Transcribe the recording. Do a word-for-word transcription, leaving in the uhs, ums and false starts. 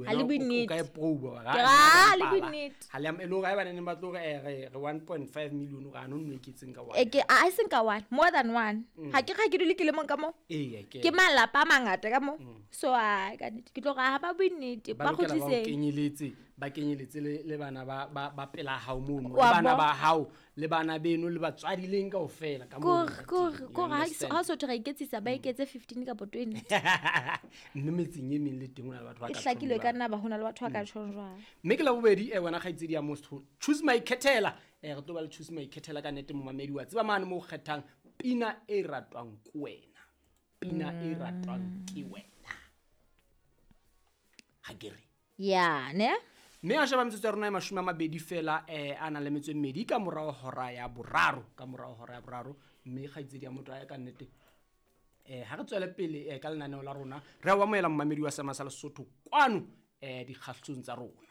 Ha le bue nnete. O ka e proba. Ke ra, ha le bue nnete. Ha le e le hore haeba ne ba tlo re eh, re re one point five million o re a no nno eketseng ka one. E ke a seng ka one, more than one. Ha ke ga ke dule ke le mong ka mo. Ee, ke. Ke malapa a mangata ka mo. So a ka nnete ke tlo re ha ba bue nnete, ba ba lokela ba o kgutliseng. kenyeletse, ba kenyeletse le le bana ba ba ba pela hao mono, le Wa bana bo- ba hao, le bana beno, le batswadi leng kaofela ka mono Kore, kore, ka teng, you kore ha understand? ha o so thwe ra iketsisa, ba eketse fifteen kapa twenty. Mme metseng e meng le teng ho na le batho ba E ka hlakile tjhong ka jwalo. nna ba ho na le batho ba ka tjhong jwalo. Mme ke la bobedi, eh, wena kgaitsedi ya motho, choose my khethela. Eh, re tlo ba le choose my khethela ka nnete momamedi wa tseba mane mo kgethang pina e ratwang ke wena. Pina e ratwang ke wena. Ha ke re. Ya, ne? Mme a sheba metsotso ya rona e mashome a mabedi fela, eh, a nang le metso e mmedi ka morao hora ya boraro, ka morao hora ya boraro. Mme kgaitsedi ya motho a ya ka nnete. Eh, ha re tswele pele, eh, ka lenaneo la rona, re a o amohela momamedi wa Seema sa Lesotho kwano, eh, dikgahlong tsa rona.